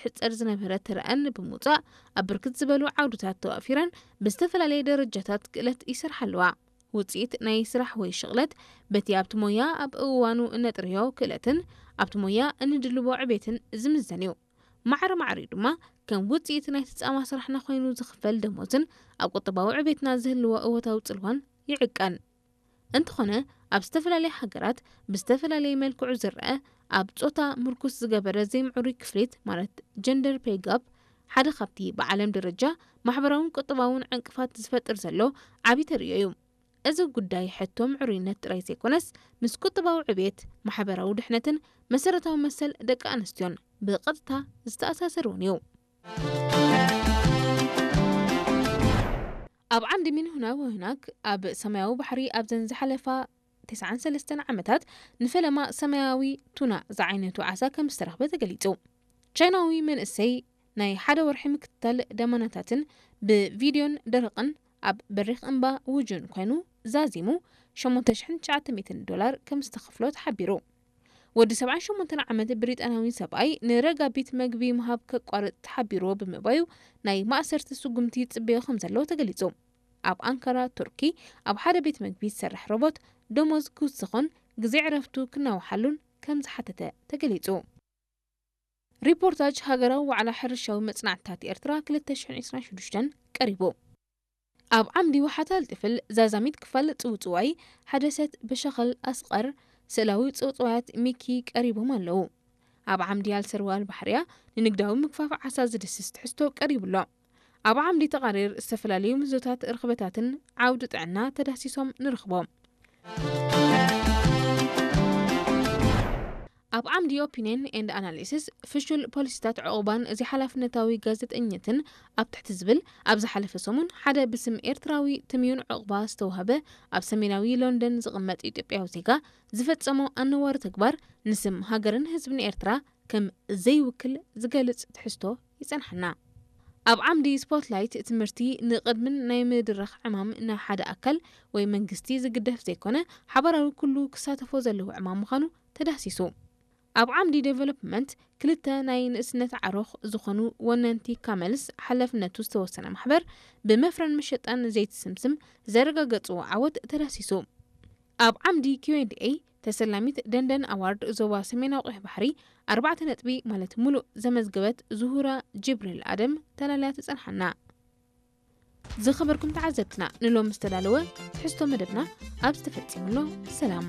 ሕጸር ዝነበረ ትረኣን ብምውጻእ ኣብ ብርክት ዝበሉ ዓውድታት ተዋፊረን ብዝተፈላለየ ደረጃታት ክእለት ይሰርሓ ኣለዋ። ውጽኢት ናይ ስራሕ ወይ ሽቕለት በቲ ኣብቲ ሞያ ኣብ እዋኑ እነጥርዮ ክእለትን ኣብቲ ሞያ እንድልቦ ዕቤትን ዝምዘን እዩ። ማዕረ ማዕሪኡ ድማ ከም ውጽኢት ናይቲ ጻማ ስራሕና ኮይኑ ዝኽፈል ደሞዝን ኣብ ቁጠባዊ ዕቤትና ዝህልዎ እወታዊ ጽልዋን ይዕቀን። እንተኾነ ኣብ ዝተፈላለየ ሃገራት ብዝተፈላለየ መልክዑ ዝረአ ኣብ ጾታ ምርኩስ ዝገበረ ዘይምዕሩይ ክፍሊት ማለት ጀንደር ፔይ ጋፕ ሓደ ካብቲ ብዓለም ደረጃ ማሕበራውን ቁጠባውን ዕንቅፋት ዝፈጥር ዘሎ ዓቢ ተርእዮ እዩ። እዚ ጉዳይ ሕቶ ምዕሩይነት ጥራይ ዘይኮነስ ምስ ቁጠባዊ ዕቤት፣ ማሕበራዊ ድሕነትን መሰረታዊ መሰል ደቂ ኣንስትዮን ብቐጥታ ዝተኣሳሰር እውን እዩ። ኣብ ዓንዲ ሚንሁና ወህናክ ኣብ ሰማያዊ ባሕሪ ኣብዘን ዝሓለፋ ተስዓን ሰለስተን ዓመታት ንፈለማ ሰማያዊ ቱና ዝዓይነቱ ዓሳ ከም ዝተረኽበ ተገሊጹ። ቻይናዊ መንእሰይ ናይ ሓደ ወርሒ ምክትታል ደመናታትን ብቪድዮን ደረቕን ኣብ በሪኽ እምባ ውጁን ኮይኑ ዛዚሙ ሸሞንተ ሽሕን ትሽዓተ ሚእትን ዶላር ከም ዝተኸፍሎ ተሓቢሩ። ወዲ ሰብዓን ሸሞንተን ዓመት ብሪጣናዊ ሰብኣይ ንረጋቢት መግቢ ምሃብ ከቋርጽ ተሓቢርዎ ብምባዩ ናይ ማእሰርቲ ስጉምቲ ይጽበዮ ከም ዘሎ ተገሊጹ። ኣብ ኣንካራ ቱርኪ ኣብ ሓደ ቤት መግቢ ዝሰርሕ ሮቦት ደሞዝ ክውስኾን ግዜ ዕረፍቱ ክናውሓሉን ከም ዝሓተተ ተገሊጹ። ሪፖርታጅ ሃገራዊ ዋዕላ ሕርሻዊ መጽናዕትታት ኤርትራ ክልተ ሽሕን ዕስራን ሽዱሽተን ቀሪቡ። ኣብ ዓምዲ ወሓታል ጥፍል ዛዛሚት ክፋል ጽውጽዋይ ሓደ ሰት በሸኸል ኣስቐር ስእላዊ ጽውጽዋያት ሚኪ ቀሪቦም ኣለዉ። ኣብ ዓምዲ ኣልሰርዋል ባሕርያ ንንግዳዊ ምግፋፍ ዓሳ ዝድስስ ትሕዝቶ ቀሪቡ ኣሎ። ኣብ ዓምዲ ተቓሪር ዝተፈላለዩ ምዞታት ርኽበታትን ዓውዲ ጥዕና ተዳሲሶም ንረኽቦም። ኣብ ዓምዲ ኦፒንየን ኤንድ ኣናሊሲስ ፍሹል ፖሊሲታት ዕቑባን እዚ ሓላፍነታዊ ጋዜጠኝነትን ኣብ ትሕቲ ዝብል ኣብ ዝሓለፈ ሰሙን ሓደ ብስም ኤርትራዊ ትምዩን ዕቑባ ዝተዋህበ ኣብ ሰሜናዊ ሎንደን ዝቕመጥ ኢትዮጵያዊ ዜጋ ዝፈጸሞ ኣነዋሪ ተግባር ንስም ሃገርን ህዝብን ኤርትራ ከም ዘይውክል ዝገልጽ ትሕዝቶ ይጸንሓና። ኣብ ዓምዲ ስፖትላይት ትምህርቲ ንቕድምን ናይ ምድራኽ ዕማም ናይ ሓደ ኣካል ወይ መንግስቲ ዝግደፍ ዘይኮነ ሓባራዊ ኩሉ ክሳተፎ ዘለዎ ዕማም ምዃኑ ተዳህሲሱ። ኣብ ዓምዲ ዴቨሎፕመንት ክልተ ናይ ንእስነት ዓሮኽ ዝኾኑ ወነንቲ ካመልስ ሓላፍነቱ ዝተወሰነ ማሕበር ብመፍረን መሸጣን ዘይቲ ስምስም ዘረጋገጽዎ ዓወት ተዳህሲሱ። ኣብ ዓምዲ ኪው ኤንድ ኤ ተሰላሚት ደንደን ኣዋርድ ዞባ ሰሜናዊ ቀይሕ ባሕሪ ኣርባዕተ ነጥቢ ማለት ሙሉእ ዘመዝገበት ዙሁራ ጅብሪል ኣደም ተላልያ ትጸንሓና። ዝኸበርኩም ተዓዘብትና ንሎም ዝተዳለወ ትሕዝቶ መደብና ኣብ ዝተፈጸመሎ ሰላም።